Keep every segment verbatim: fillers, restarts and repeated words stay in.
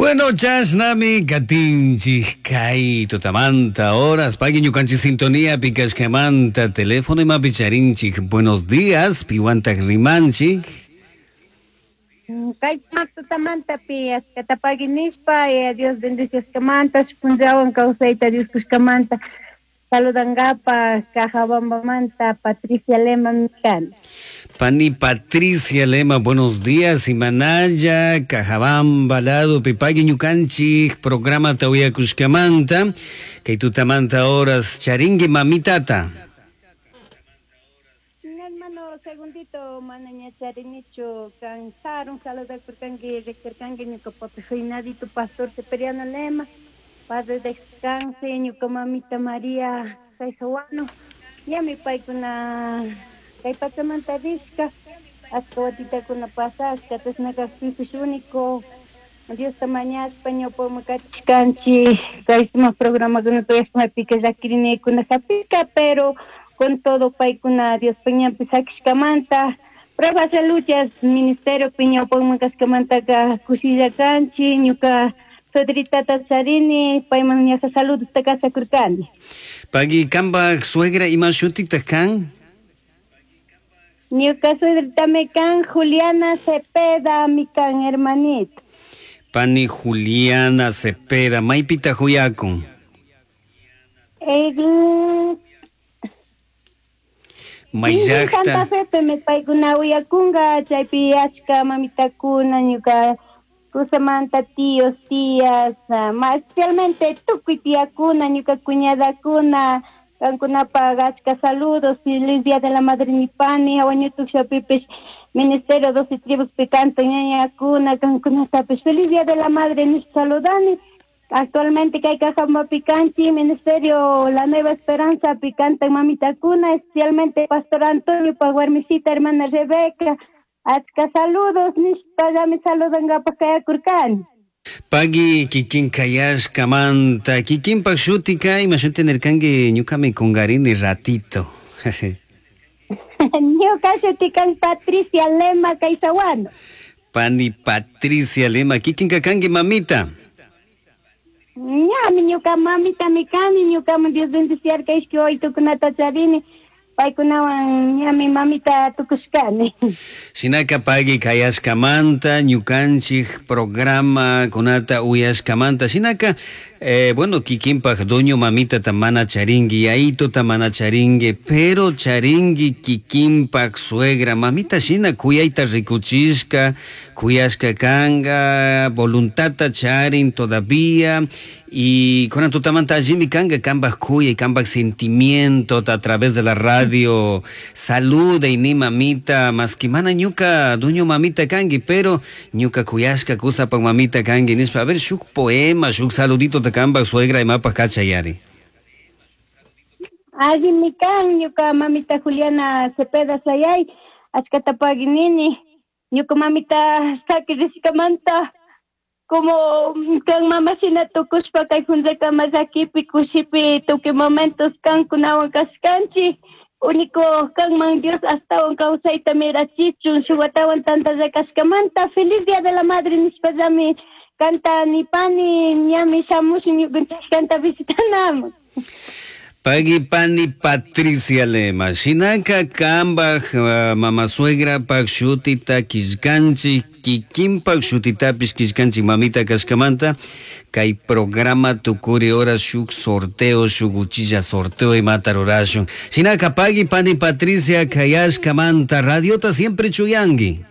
Bueno, chashnami katinchik kay tutamanta horas pagui ñukanchik sintonía pikashkamanta teléfono imapi charinchik. Buenos días, piwantak rimanchik. Kay tutamanta pi achkata pagui nishpa, eh, Dios bendiciashkamanta, punllawan kawsayta Dios kushkamanta saludangapa Cajabambamanta Patricia Lema kani. Pani Patricia Lema, buenos días. Imanaya, Cajabamba, lado, pipagui ñukanchik, programa uyakushkamanta, kay tutamanta horas, charingui mamitata. Hermano, segundito, mana ña charinichu, kan sarun saludakurkanki, rikurkanki ñuka papi Juinadito, pastor Ceperiano Lema, padre descanse, ñuka mamita María Caizahuano, ñami paykuna kay pachamanta rishka, achka watitakuna pasashka, chashna kakpipish único Diosta mañashpa ñawpaman katishkanchik, kay sumak programakunata uyashpa maypika llakirinakuna hapishka, pero con todo paykuna Diospa ñanpi sakishkamanta, pruebas de luchas ministerio ñawpaman kashkamantaka kushilla kanchik, ñuka suegritata charini, payman ñaja saludosta kachakurkani. Pagui kambak suegra ima shutita kan? Ñuka suegritami kan Juliana Cepeda, mi kan hermanita. Pani Juliana Cepeda, maypita huyakun. El Mayllaqta. Santa Fe me paykuna uyakunga, chaypi achka mamitakuna, ñuka kusamanta tíos, tías, uh, especialmente tukuy tiyakuna, ñuka cuñadakuna, kankunapaq achka saludos, feliz día de la madre nipani, hawañutukshapipish ministerio doce tribus picanto ñañakuna, kankunatapish feliz día de la madre nish saludani. Actualmente kay Cajabamba picanchi, ministerio La Nueva Esperanza picanta mamitakuna, especialmente pastor Antonio pa warmisita hermana Rebeca, achka saludos nishpallami saludangapak kayakurkani. Pagui kikin kayashkamanta, kikinpak shutika ima shuti nirkanki ñukami kungarini ratito. Ñuka shutikan Patricia Lema Caizahuano. Pani Patricia Lema, kikinka kanki mamita. Ñami ñuka mamita mi kani, ñukaman Dios bendiciarka ishki waytukunata charini, paykunawan ñami mamita tukushkani. Shinaka pagui kayashkamanta, ñukanchik programa kunata uyashkamanta, shinaka, eh, bueno, kikinpak dueño mamita ta mana charingui, yaito ta mana charingui, pero charingui kikinpak suegra, mamita shina kuyayta rikuchishka, kuyashka kanga, voluntata charin todavía, y con tutamanta allimi kanga kambak kuyay, kambak sentimiento a través de la radio, saluda y ni mamita, más que mana ñuka dueño mamita kangi, pero ñuka kuyashka kusapak mamita kangi, nispa, a ver, shuk poema, shuk saludito te kambak suegra y mapa kachayari. Allimi kan, ñuka mamita Juliana Cepeda sayay, achkata paginini, ñuka mamita sakirishkamanta, como kan mama shina tukushpa kay punllakama llakipi kushipi tukuy momentos kankunawan kashkanchik, único kanman Dios astawan kawsayta mirachichun shuk watawan tantalla kashkamanta, feliz día de la madre nishpallami kanta nipani ñami shamushun ñukanchik kanta visitanaman. Pagui pani Patricia Lema, shinaka kambaj, uh, mama suegra pak shutita kishkanchik, kikinpak shutitapish kishkanchik mamita kashkamanta, kay programa tukuri hora shuk sorteo, shuk uchilla sorteo imata rurashun. Shinaka pagui pani Patricia kayashkamanta, radiota siempre chuyangi.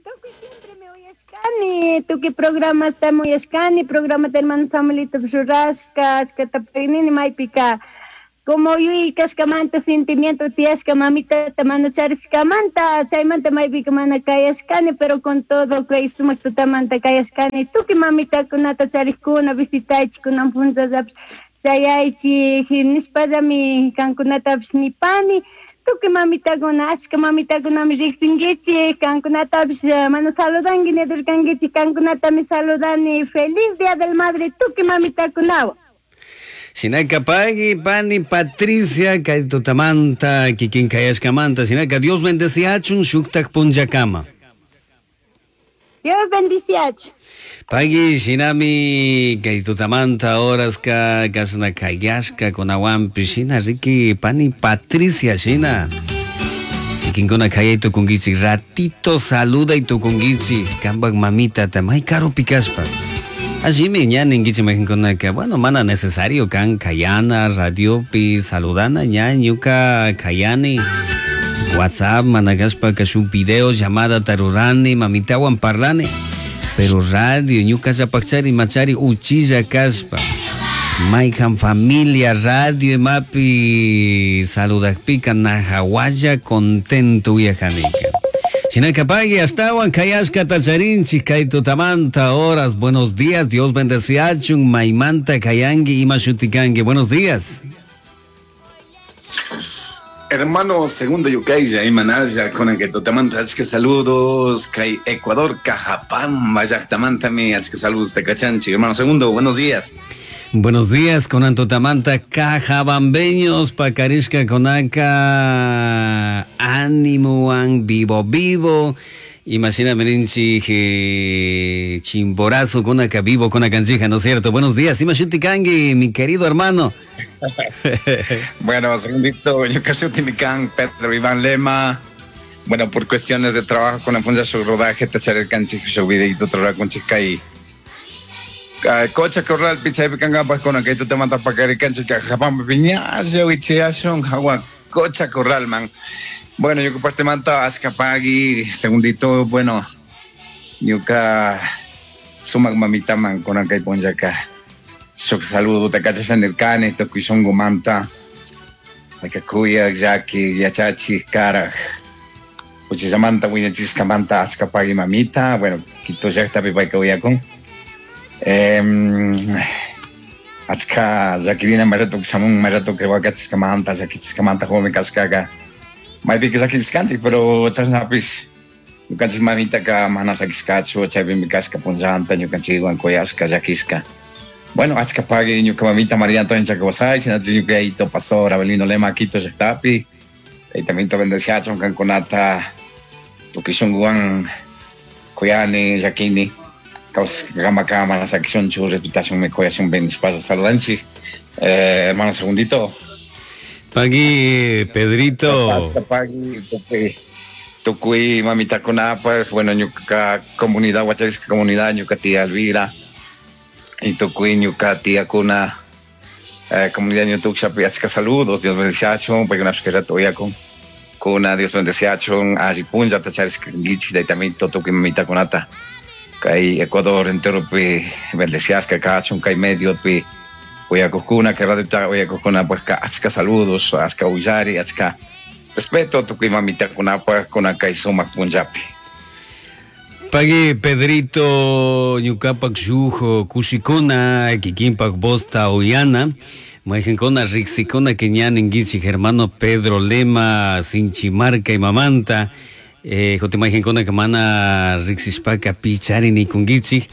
Tukuy siempre me uyashkani, tukuy programa está uyashkani, programa de hermano Samuelito rurashka, achkata paginini maypika, como yuyay kashkamanta sentimiento tiyashka mamita mana charishkamanta, chaymanta maypika mana kayashkani, pero con todo kay sumak tutamanta kayashkani, tukuy mamitakunata charikuna, visitaychik kunan punllallapish chayaychik, nishpallami kankunatapish nipani, tukuy mamitakuna, achka mamitakunami riqsinkichik, kankunatapish mana saludanki nidurkankichik, kankunatami saludani, feliz día del madre tukuy mamitakunawan. Shinaka pagui pani Patricia kay tutamanta kikin kayashkamanta, shinaka Dios bendeciachun shuktak punllakama. Dios bendiciach. Pagui shinami kay tutamanta horaska kashna kayashka kunawanpi shina riki pani Patricia shina. Kikinkuna kayay tukunkichik ratito saluday tukunkichik kanpak mamitata may karupi kashpa. Allimi ña ninkichik mayqinkunaka bueno mana necesario kan kayana radiopi saludana ña ñuka kayani WhatsApp mana kashpaka shuk video llamada tarurani mamitawan parlani pero radio ñukallapakchari machari uchilla kashpa mayhan familia radio imapi saludakpika najawalla contento uyajanika. Shinaka pagui astawan kayashkata charinchik kay tutamanta horas. Buenos días, Dios bendeciachun maymanta kayanki ima shutikanki. Buenos días. Hermano segundo Yukaya y Manaya con el que tutamanta achka saludos kay Ecuador Cajapamba llaqtamantami achka saludos tacachanchi. Hermano segundo, buenos días. Buenos días con Antotamanta Cajabambeños Pacarishka Konaka ánimo vivo vivo. Imagina meninchi chimborazo konaka vivo konakanchija, ¿no es cierto? Buenos días, Imashuti mi querido hermano. Bueno, segundito, yo casi utimican Pedro Iván Lema. Bueno, por cuestiones de trabajo con la función su rodaje, tachar el canchi, su videito, trabajo con chica y Cocha Corral, pichay picangapas con que tú te mandas pa caricanchi, Cajapamba, piñazo, wichiashon, agua, Cocha Corral, man. Bueno, yo que parte manta, Azcapagui, segundito, bueno, ñuka sumak mamita man, con que ponyaca. Sok saludo, te cachas en el cane, toquisongo manta, Acacuya, Jackie, Yachachi, Caraj. Uchisamanta, Wiñachiscamanta, Azcapagui, mamita, bueno, quito ya está pipa con. Eh, achka llakirina mayrato shamun mayrato que wakachiskamanta llakichiskamanta joven kashkaka maypika llakichiskanchik pero chashnapis ñukanchik mamitaka mana sakishkachu chaypimi kashka punllanta ñukanchikwan kuyashka llakishka. Bueno, achka pagui ñuka mamita María Antonia Chacabasay shinachi ñuka yayito pastor Abelino Lema Quito llaktapi taytamito bendeciachun kankunata tukuy shunkuwan kuyani llakini Gama cámara, saquisión chu, reputación me coyación ben saludanchi. Eh, hermano segundito. Pagui, Pedrito. Pagui, tukuy, mamita kunapa, bueno, ñuka comunidad, huacharisca comunidad, ñuka tía Elvira, y tukuy, ñuka tía kuna, eh, comunidad ñutuksha, achka saludos, Dios bendeciachun, paykunapis rato uyakun, kuna, Dios bendeciachun, alli punlla, tacharisca gichi, daytamito, tukuy mamita kunata. Kay Ecuador entero pi bendeciasca kachun kay medio pi uyakukuna que radio ta uyakukuna pues ka achka saludos achka uyari achka respeto tukuy mamita kunapa kuna kay sumak punllapi. Pagui Pedrito ñukapak shuk kushikuna kikinpak vosta uyana mayqinkuna riqsikuna que ña ninkichik hermano Pedro Lema Sinchimarca y mamanta. Eh, jote mayqinkuna que mana riqsishpaka pichari nikunkichik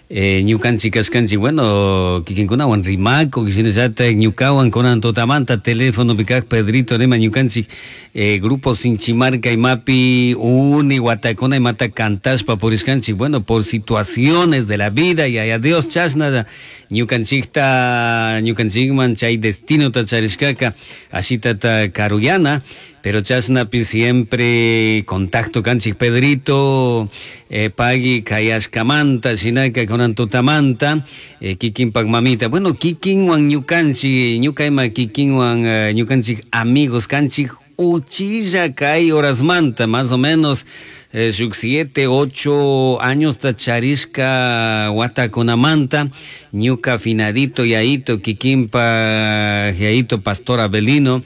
eh, ñukanchik kashkanchik bueno kikinkunawan rimakuq shinallatak ñukawan kunan tutamanta telefonopi kaq Pedrito Lema ñukanchik eh, grupo Sinchimarca imapi uni watakuna imata kantashpa purishkanchik bueno por situaciones de la vida y a Dios chashna ñukanchikta ñukanchikman chay destino tacharishkaka ashitata karuyana pero chashnapi siempre contacto kanchik Pedrito eh, pagui kayashkamanta shinaka kunan tutamanta eh, kikinpak mamita bueno kikinwan ñukanchik ñuka ima kikinwan eh, ñukanchik amigos kanchik uchilla kay horasmanta más o menos eh, shuk siete, ocho años tacharishka watakunamanta ñuka finadito yaito kikinpa yaito pastor Abelino.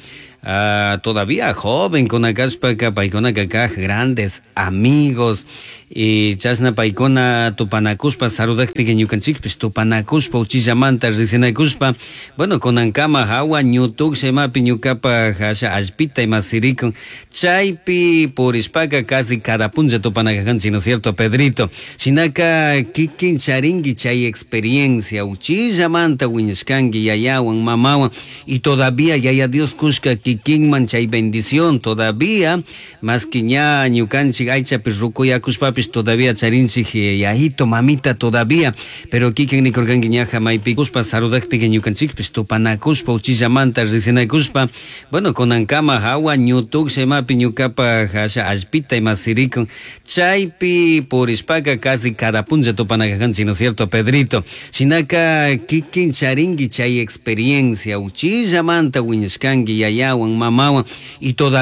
Uh, todavía joven con akashpaka paykunaka kaq grandes amigos y chashna paykuna tupanakushpa saludakpika ñukanchikpish tupanakushpa uchillamanta riqsinakushpa bueno kunankama hawa ñutuksha imapi ñukapaj asha allpita ima sirikun chaypi purishpaka casi cada punlla tupanakajanchik, ¿no es cierto, Pedrito? Shinaka kikin charinki chay experiencia uchillamanta wiñashkanki yayawan mamawan y todavía yaya Dios kushka kikinman chay bendición todavía más que ña ñukanchik aychapi rukuyakushpapis Ñucapish todavía charinchik yayito, mamita todavía, pero kikin nikurkanki ñaja maypikuspa saludakpika ñukanchikpish tupanakushpa uchillamanta riqsinakushpa, bueno, kunankama hawa ñutuksha imapi ñukapaj asha allpita ima sirikun, chaypi purishpaka casi cada punlla tupanakanchik, ¿no es cierto, Pedrito? Shinaka kikin charinki chay experiencia uchillamanta wiñashkanki yayawan, mamawan y todavía